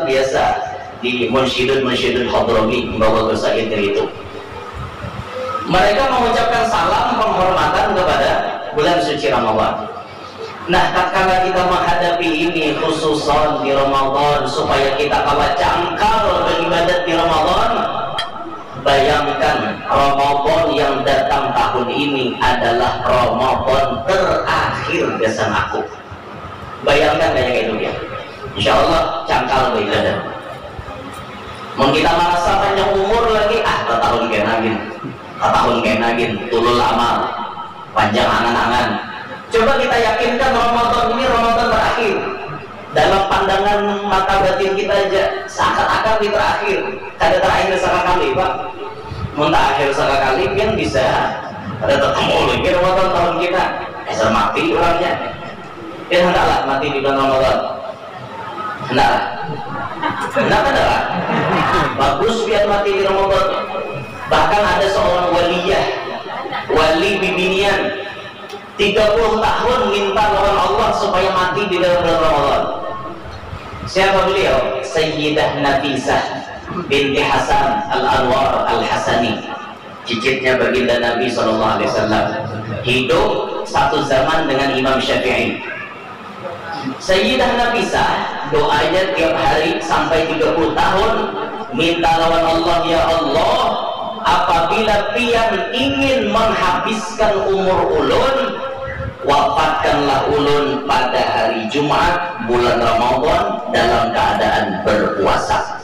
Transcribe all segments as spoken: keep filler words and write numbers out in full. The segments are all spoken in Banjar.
Biasa di munsyidun-munsyidun Hadrami membawa qasidah itu. Mereka mengucapkan salam penghormatan kepada bulan suci Ramadan. Nah, tatkala kita menghadapi ini, khususon di Ramadan, supaya kita kawa cangkal beribadat di Ramadan, bayangkan, Ramadan yang datang tahun ini adalah Ramadan terakhir gasan aku. Bayangkan kaya itu, ya. Insya Allah cangkal beribadat. Mun kita merasa panjang umur lagi, ah, tatahun kena gin, tatahun kena gin, tulul amal, panjang angan-angan. Coba kita yakinkan Ramadan ini Ramadan terakhir. Dalam pandangan mata batin kita aja, seakan-akan ini terakhir. Kada terakhir sakakali, Pak. Mun terakhir sakakali, pian bisa kada ketemu lagi Ramadan tahun kita. Asal mati orangnya. Pian hendaklah mati di bulan Ramadan. Hendaklah. Hendaklah. Bagus pian mati di Ramadan. Bahkan ada seorang waliyah, wali bibinian, tiga puluh tahun minta lawan Allah supaya mati di dalam bulan Ramadan. Siapa beliau? Sayyidah Nafisah binti Hasan Al-Anwar Al-Hasani, cicitnya baginda Nabi sallallahu alaihi wasallam. Hidup satu zaman dengan Imam Syafi'i. Sayyidah Nafisah doanya tiap hari sampai tiga puluh tahun, minta lawan Allah, "Ya Allah, apabila pian ingin menghabiskan umur ulun, wafatkanlah ulun pada hari Jumat bulan Ramadan dalam keadaan berpuasa."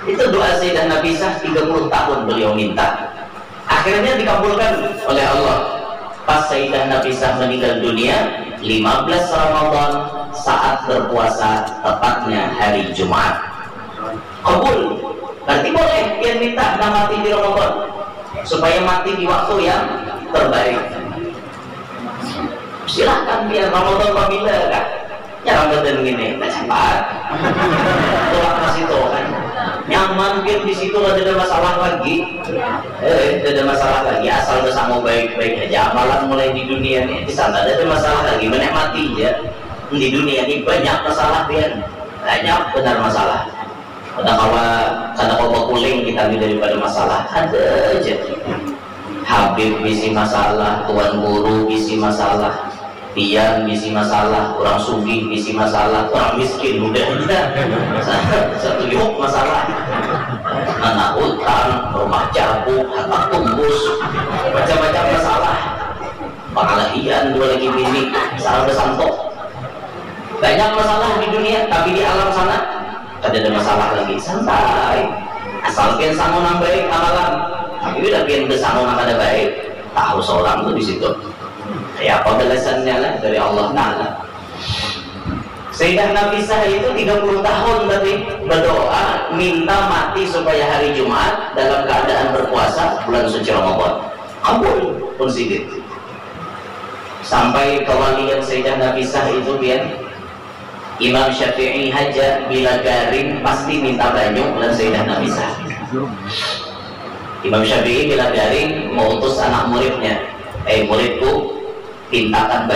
Itu doa Sayyidah Nafisah, tiga puluh tahun beliau minta. Akhirnya dikabulkan oleh Allah. Pas Sayyidah Nafisah meninggal dunia, lima belas Ramadan, saat berpuasa, tepatnya hari Jumat. Kabul. Berarti boleh pian minta nang mati di Ramadan, supaya mati di waktu yang terbaik. Silahkan pian, Ramadan pabila kah? Nyaram badan gini, nah, cepat. Tulak ke situ kan. Nyaman pian di situ, kada ada masalah lagi. Eh, kada ada masalah lagi, asal bersama baik-baik aja. Amalan mulai di dunia ni, di sana kada ada masalah lagi, menikmati aja. Di dunia ni banyak masalah pian. Banyak benar masalah. Kada kawa, kada kawa bakuling kita ni daripada masalah. Ada aja. Habib bisi masalah, tuan guru bisi masalah, pian bisi masalah, orang sugih bisi masalah, orang miskin udah aja. Sa-, satu yuk masalah. Anak utang, rumah cabuk, harta tumbus, macam-macam masalah. Pangalahian dua lagi bini, salah besantok. Banyak masalah di dunia, tapi di alam sana kada ada masalah lagi, santai. Asal pian sangu nang baik amalan, tapi bila pian besangu nang kada baik, tahu seorang tu di situ. Ya, apa balasannya lah dari Allah Ta'ala. Sayyidah Nafisah itu tiga puluh tahun tadi berdoa, minta mati supaya hari Jumat dalam keadaan berpuasa bulan suci Ramadan. Kabul pun sidin. Sampai kawalian Sayyidah Nafisah itu, pian, Imam Syafi'i haja bila garing pasti minta banyu dan Sayyidah Nafisah. Imam Syafi'i bila garing mautus anak muridnya, "Eh, muridku, pintakan